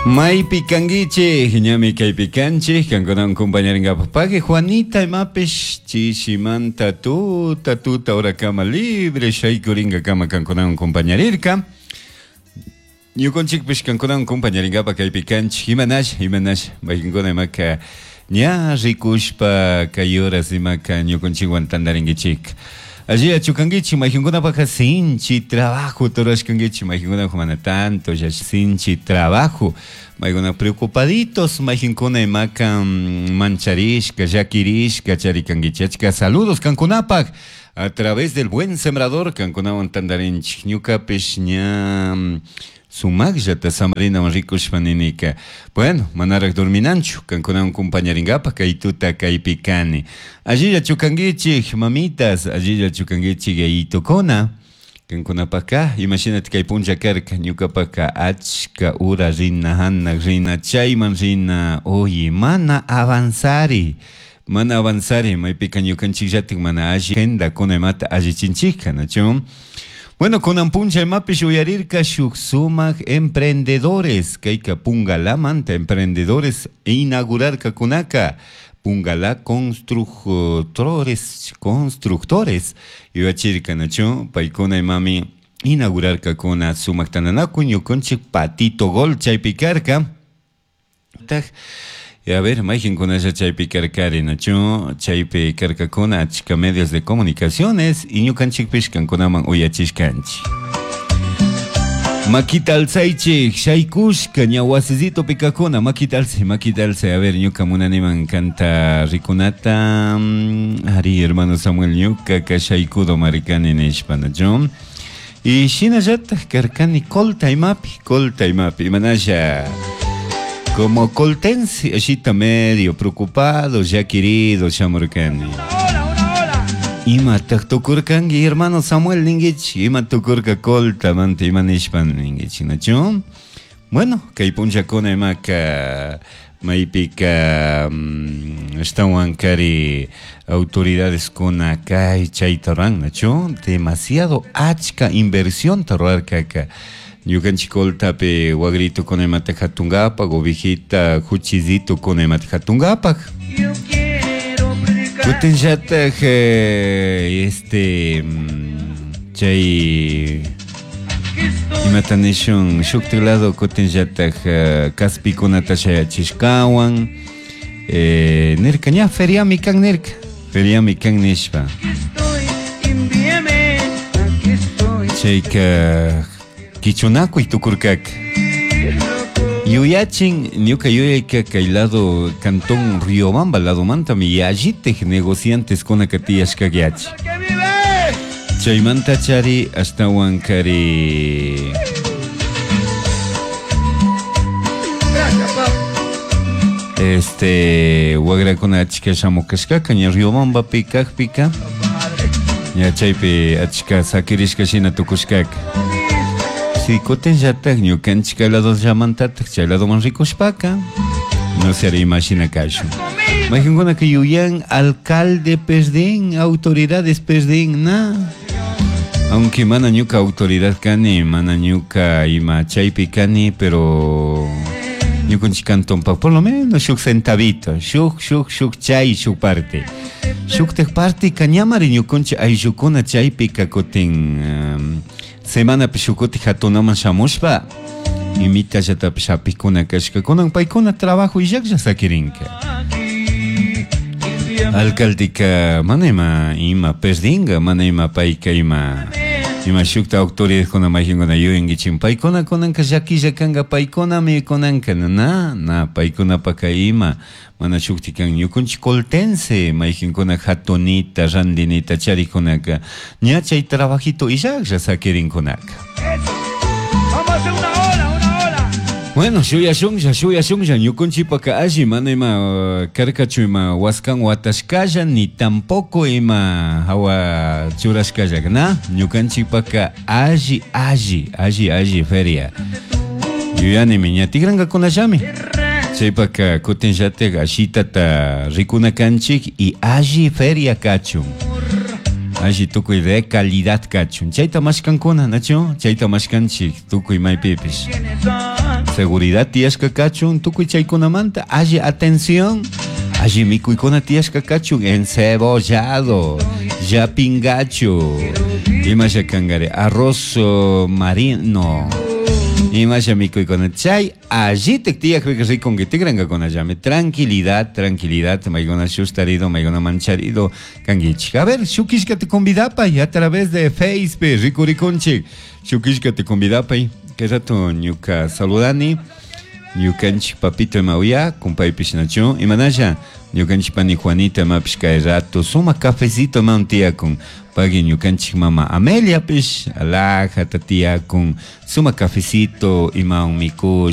Maypi kankichik, ñami kaypi kanchik, kankunawan compañarinkapak pagui Juanita imapish chishimanta tuta tuta horakama libre shaykuringakama kankunawan compañarirka. Ñukunchikpish kankunawan compañarinkapak kaypi kanchik, imanash, imanash, maykinkuna imaka ña rikushpa kay horas imaka ñukunchikwan tantarinkichik. Alliyachu kankichik, maykinkunapaka sinchi trabajo rurashkankichik, maykinkunapaka mana tanto, ya sinchi trabajo, maykuna preocupaditos, maykinkuna imaka mancharishka, llakirishka charikankichik. Achka saludos kankunapak a través del Buen Sembrador kankunawan tantarinchik, ñukapish ña sumaqllata samarinawan rikushpa ninika. Bueno, manaraq dorminanchu, kankunawan compañarinkapak kay tuta kaypi kani. Allillachu kankichik, mamitas, allillachu kankichik, yayitukuna. Kankunapaka, imashinati kay punlla karka, ñukapaka achka ura rina, hanaq rina, chayman rina, oye, mana avanzari, mana avanzari, maypika ñukanchikllatik mana alli agendakuna imata allichinchikka, nachu? Bueno, kunan punlla imapish uyarirka shuk sumak emprendedores, kayka Pungalamanta emprendedores inaugurarkakunaka, Pungalá constructores, constructores yuyachirka, nachu? Paykuna imami inaugurarkakuna sumak tantanakuy ñukanchik Patito Gol chaypi karka. Y a ver, mayqinkunalla chaypi karkari, nachu? Chaypi karkakuna achka medios de comunicaciones y ñukanchikpish kankunaman uyachishkanchik. Makita alzaychik, shaykushka ña wasisito pikakuna, makita alzay, makita alzay. A ver, ñuka munaniman kanta rikunata, ari, hermano Samuel, ñuka ka shaykudo marikani nishpa, nachu? Y shinallatak karkani colta imapi, colta imapi, imanasha. Como coltense, ashita medio preocupado, ya querido, shamurkani. Imataq tukurkanki, hermano Samuel ninkichik, ima tukurka colta manta ima nishpa ninkichik, nachu? Bueno, kay punllakuna imaka maypika ashtawan kari autoridades kuna kay chayta ruran, nachu? Demasiado achka inversionta rurarkaka. Ñukanchik coltapi wagritukuna imata hatunkapak, ovejita, juchizitokuna imata hatunkapak. Kutinllatak este chay imata nishun shuktik lado kutinllatak kaspikunata shayachishkawan nirka ña feriami kan nirka, feriami kan nishpa. Chayka kichunakuy tukurkaka. Yuyachin ñuka yuyayka kay lado cantón Riobamba ladomantami yallitik negociantes kunaka tiyashkayachi. Chaymanta chari ashtawan kari este wagrakuna achka shamukashkaka ña Riobambapi kakpika ña chaypi achka sakirishka shina tukushkaka. Si kutinllatak ñukanchik kay lado llamantatak chay ladoman rikushpaka no se imagina kashun. Mayqinkunaka yuyan alcalde perdin, autoridades perdin, na. Aunque mana ñuka autoridad kani, mana ñuka ima chaypi kani, pero ñukanchik cantonpa por lo menos shuk centavito, shuk, shuk, shuk chay, shuk parte. Shuktak parte kañamari ñukanchik ayllukuna chaypika kutin semanapi shukuti hatunaman shamushpa imitallatapish hapikuna kashka kunan paykuna trabajo illaklla sakirinka. Alcaldeka mana ima ima perdinga, mana ima payka ima ima shukta autoridadkuna mayqinkuna yuyankichik paykuna kunanka llakilla kanka paykunami kunanka na na paykunapaka ima mana shukti kan ñukanchik coltense mayqinkuna hatunita randinita charikunaka ña chay trabajito illaklla sakirinkunaka. Vamos a hacer una ola, una ola. Bueno, shuyashunlla, shuyashunlla, ñukanchikpaka alli mana ima karkachu ima waskan watashkalla ni tampoco ima hawa churashkalla, na? Ñukanchikpaka alli, alli, alli, alli feria. Yuyanimi ña tikrankakunallami. Chaypaka kutinllatik ashitata rikuna kanchik y alli feria kachun. Alli tukuy de calidad kachun. Chayta mashkankuna, nachu? Chayta mashkanchik tukuy maypipish. Seguridad tiyashka kachun tukuy chaykunamanta alli atención. Alli mikuykuna tiyashka kachun encebollado, llapingachu. Imasha kankari arroz marino. Imasha mikuykuna chay allitik tiyakpika rikunki tikrankakunallami. Tranquilidad, tranquilidad, maykuna shustarido, maykuna mancharido kankichik. A ver, shuk killkata convidapay a través de Facebook, rikurikunchik. Shuk killkata convidapay. Kay rato ñuka saludani. Ñukanchik papito imawya, kumpaypish nachu. Imanasha, ñukanchik pani Juanita imapish kay rato, sumak cafecito imawan tiyakun. Pagui ñukanchik mama Ameliapish, alajata tiyakun, sumak cafecito imawan mikush.